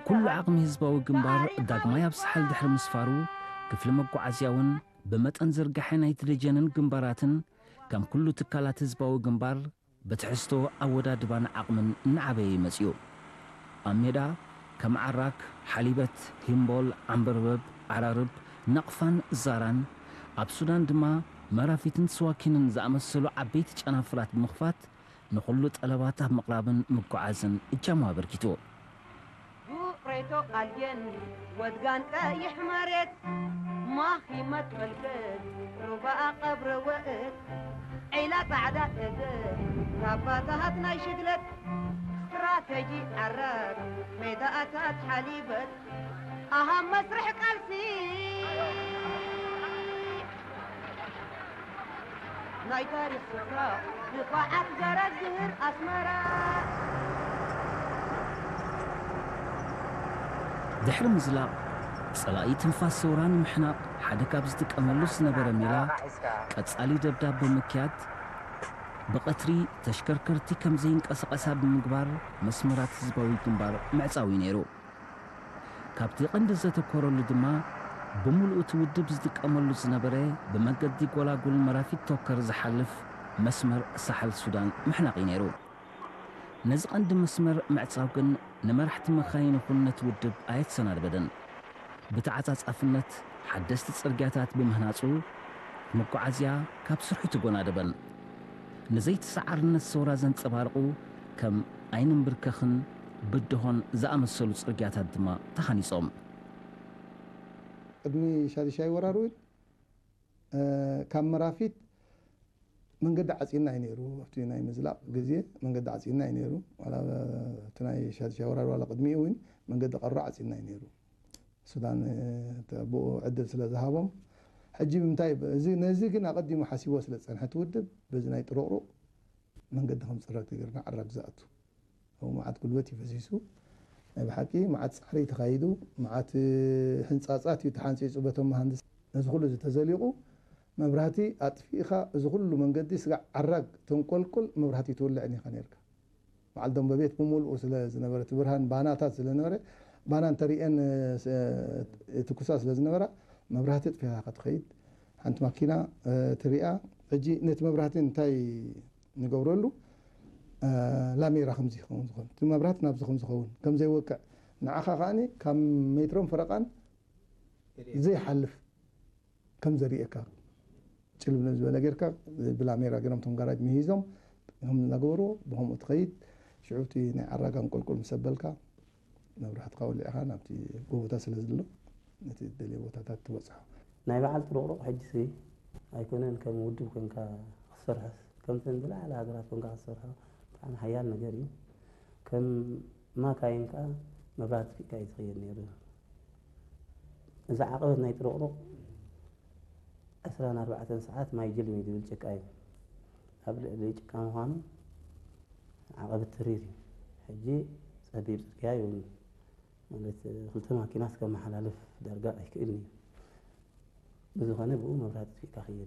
ኩሉ ዓቕሚ ህዝባዊ ግንባር ዳግማይ ኣብ ሳሕል ድሕሪ ምስፋሩ፣ ክፍሊ መጓዓዝያ እውን ብመጠን ዝርጋሐ ናይቲ ደጀንን ግንባራትን ከም ኩሉ ትካላት ህዝባዊ ግንባር ብትሕዝቶ ኣወዳድባን ዓቕምን እናዓበየ እዩ መጺኡ። ኣብ ሜዳ ከም ዓራክ፣ ሓሊበት፣ ሂምቦል፣ ዓምበርበብ፣ ዓራርብ፣ ናቕፋን ዛራን፣ ኣብ ሱዳን ድማ መራፊትን ስዋኪንን ዝኣመሰሉ ዓበይቲ ጨናፍራት ብምኽፋት ንኹሉ ጠለባት ኣብ ምቕራብን ምጉዓዝን እጃሙ ኣበርኪቱ። ዱሬቶ ቃልጌን ወድጋን ቀይሕ መሬት ማኺመት መልክት ሩባኣ ቀብረ ወእት ዒላ ጻዕዳ እዝን ካባታሃት ናይ ሽግለት ስትራተጂ ዓራት ሜዳኣታት ሓሊበት ኣሃ መስርሕ ቃልሲ ናይ ታሪኽ ስፍራ ብኸዓት ገረግር ኣስመራ። ድሕሪ ምዝላቕ፣ ጸላኢ ትንፋስ ሰውራ ንምሕናቕ ሓደ ካብ ዝጥቀመሉ ዝነበረ ሜላ፣ ቀጻሊ ደብዳብ ብምክያድ፣ ብቐትሪ ተሽከርከርቲ ከም ዘይንቀሳቐሳ ብምግባር መስመራት ህዝባዊ ግንባር ምዕጻው እዩ ነይሩ። ካብቲ ቀንዲ ዘተኮረሉ ድማ፣ ብምሉኡ እቲ ውድብ ዝጥቀመሉ ዝነበረ ብመገዲ ጎላጉል መራፊት ቶከር ዝሓልፍ መስመር ሳሕል ሱዳን ምሕናቕ እዩ ነይሩ። ነዚ ቀንዲ መስመር ምዕጻው ግን ንመራሕቲ መኻይን ይኹን ነቲ ውድብ ኣየተሰናድበደን። ብተዓጻጻፍነት ሓደስቲ ጽርግያታት ብምህናጹ፣ መጓዓዝያ ካብ ስርሑ ተጎናደበን። ንዘይተሰዓርነት ሰውራ ዘንጸባርቑ ከም ኣይንንብርከኽን ብድሆን ዝኣመሰሉ ጽርግያታት ድማ ተሃኒጾም። ቅድሚ ሻድሻይ ወራር እውን፣ እ፣ ካብ መራፊት መንገዲ ዓጺና እዩ ነይሩ። ኣብቲ ናይ ምዝላቕ ግዜ መንገዲ ዓጺና እዩ ነይሩ። ዋላ እቲ ናይ ሻድሻይ ወራር ዋላ ቅድሚኡ እውን መንገዲ ቀሮ ዓጺና እዩ ነይሩ። ሱዳን፣ እ፣ ተ-፣ ብኡ ዕድል ስለ ዝሃቦም፣ ሕጂ ብምንታይ ብ-፣ እዚ፣ ነዚ ግን ኣቐዲሙ ሓሲቦ ስለ ዝጸንሐ እቲ ውድብ፣ በዚ ናይ ጥሩቕሩቕ መንገዲ ከም ጽረግ ተገይርና ዓራግ ዝኣቱ። ኣብኡ መዓት ጉልበት እዩ ፈሲሱ። ናይ ብሓቂ መዓት ጻዕሪ እዩ ተኻይዱ። መዓት፣ እ፣ ህንጻጻት እዩ ተሓንጺጹ በቶም መሃንድስ። ነዚ ኩሉ እዚ ተዘሊቑ፣ መብራህቲ ኣጥፊእኻ፣ እዚ ኩሉ መንገዲ ስጋዕ ዓራግ ተንቆልቁል፣ መብራህቲ ትውልዕን ኢኻ ነይርካ። በዓል ደንበቤት ብምሉኡ ስለ ዝነበረ፣ እቲ ብርሃን ባናታት ስለ ዝነበረ፣ ባና እንተሪኤን፣ እ፣ ስ-፣ እ፣ ትኩሳ ስለ ዝነበራ፣ መብራህቲ ኣጥፊእኻ ኢኻ ትኸይድ። ሓንቲ ማኪና፣ እ፣ ትሪኣ። ሕጂ ነቲ መብራህቲ እንታይ ንገብረሉ? እ፣ ላሜራ ከምዚ ይኸውን ዝኸውን። እቲ መብራህቲ ናብዚ ከም ዝኸውን፣ ከም ዘይወቅዕ፣ ንዓኻ ከኣኒ ካብ ሜትሮን ፈረቓን ዘይሓልፍ ከም ዘርእየካ፣ ጭልም ዝበለ ጌርካ፣ ብላሜራ ገይሮም እቶም ጋራጅ ምሂዞም፣ ከም እናገበርዎ ብኸምኡ ትኸይድ። ሽዑ እቲ ናይ ዓራጋን ቁልቁል ምስ ኣበልካ፣ መብራህትኻ ወሊዕኻ ናብቲ ጎቦታት ስለ ዘሎ፣ ነቲ እትደልዮ ቦታታት ትበጽሖ። ናይ በዓል ጥሩቕሩቕ ሕጂሲ ኣይኮነን ከም ውድብ ኮንካ ክትሰርሖስ፣ ከምተን ዝለዓለ ሃገራት ኮንካ ክትሰርሖ ብጣዕሚ ሓያል ነገር እዩ። ከም ማካይን ከኣ መብራህቲ ኣጥፊእካ እዩ ዝኸይድ ነይሩ። እዚ ዓቐበት ናይ ጥሩቕሩቕ ዕስራን ኣርባዕተን ሰዓት ማይ ጅልም እዩ ዝብል ጭቃ እዩ። ኣብ ልዕሊ ጭቃ ምዃኑ ዓቐበት ተሪር እዩ። ሕጂ ጸቢብ ጽርግያ የብሉን። ማለት ክልተ ማኪናስ ከመሓላልፍ ዳርጋ ኣይክእልን እዩ። ብዝኾነ ብኡ መብራህቲ ኣጥፊእካ ክይድ።